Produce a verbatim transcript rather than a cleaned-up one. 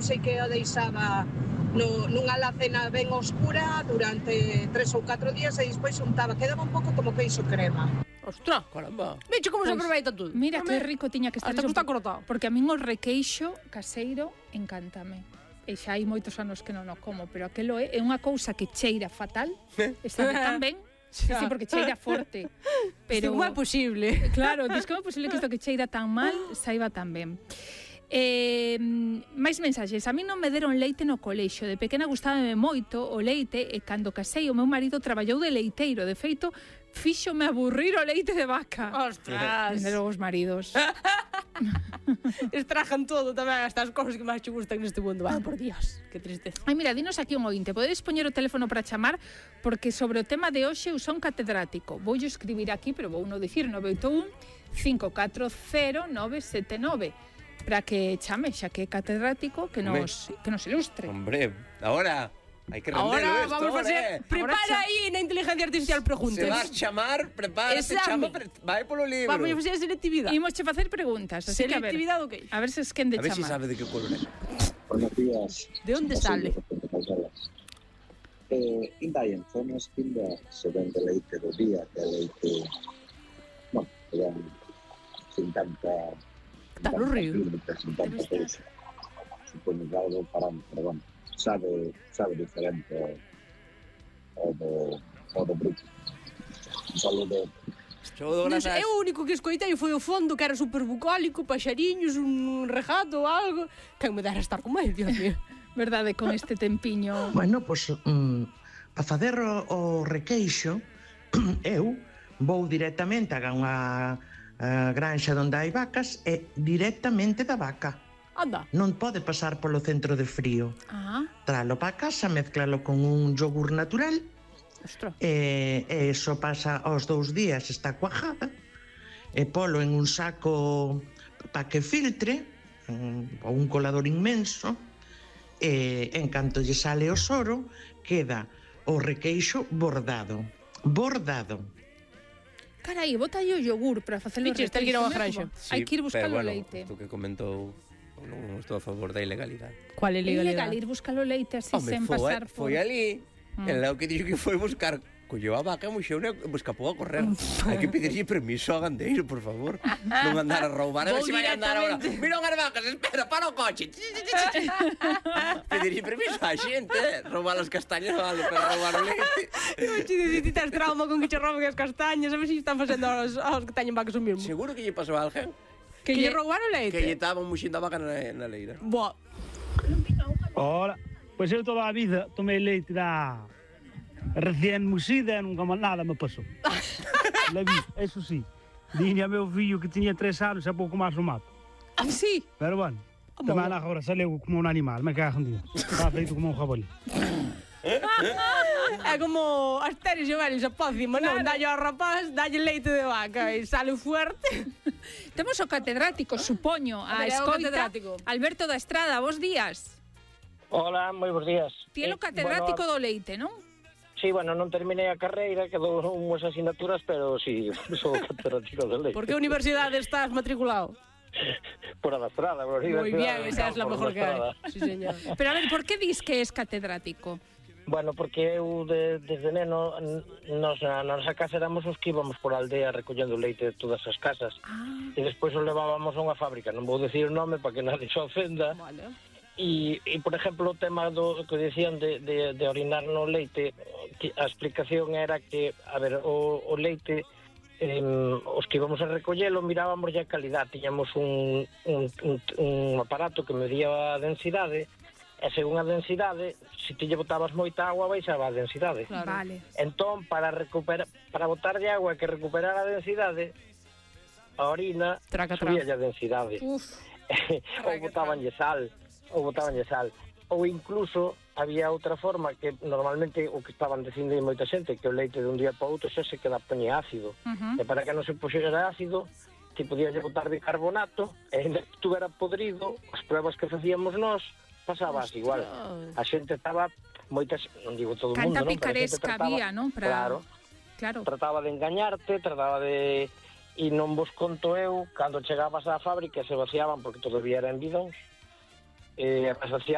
sei que a deixaba no, nunha alacena ben oscura durante tres ou catro días e despois untaba, quedaba un pouco como queixo crema. Ostras, caramba. Veche como se aproveita todo. Mira que rico tiña que estar Hasta que está cortado. Porque a min o requeixo caseiro encántame. E xa hai moitos anos que non o como, pero aquelo é, é unha cousa que cheira fatal, está tan ben. Sí, sí, porque cheira forte. Pero como é posible? Claro, diz como é posible que isto que cheira tan mal saiba tan ben. Eh, máis mensaxes. A mí non me deron leite no colexio. De pequena gustábame moito o leite e cando casei o meu marido traballou de leiteiro. De feito, fíxome aburrir o leite de vaca. Ostras. Dende logo os maridos. Estrajan todo tamén, hasta as cousas que máis che gustan neste mundo. Ah, por Dios, que tristeza. Ai, mira, dinos aquí un ointe. Podedes poñer o teléfono para chamar, porque sobre o tema de hoxe eu son catedrático. Vou escribir aquí, pero vou non dicir nove oito un, cinco catro cero, nove sete nove para que chame, xa que é catedrático, que nos, que nos ilustre. Hombre, ahora hai que rendelo Ahora esto, vamos a facer, eh. prepara aí na inteligencia artificial preguntas. Se vas chamar, prepárate, chama, pre vai polo libro. Vamos a facer a selectividade. Imos che facer preguntas, así que a ver. Selectividade o que? A ver se es quen de chamar. A ver se chamar. sabe de que color é. Buenos días. De onde sale? Eh, inda en zonas que se vende leite do día, que é leite, bueno, que é sin tanta... Está no río. Sin tanta cousa. Supoño que algo para, pero bueno, sabe, sabe diferente ao do, ao do bruto. Un saludo. Non sei, eu o único que escoitei foi o fondo, que era super bucólico, paxariños, un regato ou algo. Quen me dera estar con máis, Dios mío. Verdade, con este tempiño. Bueno, pois, pues, um, para facer o, o requeixo, eu vou directamente a unha a granxa onde hai vacas e directamente da vaca. Anda. Non pode pasar polo centro de frío. Ah. Tralo para casa, mezclalo con un yogur natural. Ostras. E, e eso pasa aos dous días, está cuajada. E polo en un saco para que filtre, ou un colador inmenso. E en canto lle sale o soro, queda o requeixo bordado. Bordado. Carai, bota aí o yogur para facer o requeixo. Ten que ir a unha granja. Sí, hai que ir buscar o pero, bueno, leite. Tú que comentou, non estou a favor da ilegalidade. Cual é É ilegal ilegalidade? ir buscar o leite así Home, sen foi, pasar por... foi ali, mm. el que dixo que foi buscar, colleu a vaca e muxeu e escapou a correr. Hai que pedirlle permiso ao gandeiro, por favor. Non andar a roubar, a ver se vai andar agora. Mira unhas vacas, espera, para o coche. Pedirlle permiso á xente, roubar as castañas vale, para roubar o leite. Eu te dicir, tes trauma con que che rouben as castañas, a ver se están facendo aos, aos que teñen vacas o mesmo. Seguro que lle pasou a alguén. Que, que lle roubaron leite? Que lle estaban muxindo a vaca na, na leira. Boa. Ora, pois eu toda a vida tomei leite da recién muxida e nunca máis nada me pasou. La vi, eso sí. Dine a meu fillo que tiña tres anos e pouco máis o mato. Ah, sí? Pero bueno, tamén agora saleu como un animal, me cago en día. Está feito como un jabalí. É como Asterio e Obelix a pócima, non? Dalle ao rapaz, dalle leite de vaca e sale fuerte. Temos o catedrático, supoño, a, a escoita. Alberto da Estrada, bons días. Hola, moi bons días. Ti é o catedrático bueno, do leite, non? Sí, bueno, non terminei a carreira, quedou unhas asignaturas, pero sí, sou catedrático do leite. Por que universidade estás matriculado? Por a da Estrada, por a Moi bien, esa é a mellor que hai. Sí, señor. Pero a ver, por que dis que es catedrático? Bueno, porque eu de, desde neno nos, na nosa casa éramos os que íbamos por a aldea recollendo leite de todas as casas. Ah. E despois o levábamos a unha fábrica, non vou dicir o nome para que nadie se ofenda. Vale. E, e, por exemplo, o tema do que dicían de, de, de orinar no leite, a explicación era que, a ver, o, o leite, eh, os que íbamos a recollelo, mirábamos a calidad, tiñamos un, un, un, un aparato que medía a densidade, e según a densidade, se ti lle botabas moita agua, baixaba a densidade. Claro. Vale. Entón, para recuperar, para botar de agua que recuperar a densidade, a orina subía a densidade. Uf. Ou botabanlle sal, ou botabanlle sal. Ou incluso había outra forma que normalmente o que estaban dicindo moita xente, que o leite de un día para outro xa se queda poñe ácido. Uh-huh. E para que non se puxera ácido, ti podías botar bicarbonato, e ainda que estuvera podrido, as pruebas que facíamos nós, pasabas igual. A xente estaba moitas, non digo todo o mundo, Canta non? picaresca había, non? Pra... Claro. Claro. Trataba de engañarte, trataba de... E non vos conto eu, cando chegabas á fábrica se vaciaban porque todavía eran bidóns, eh, asociado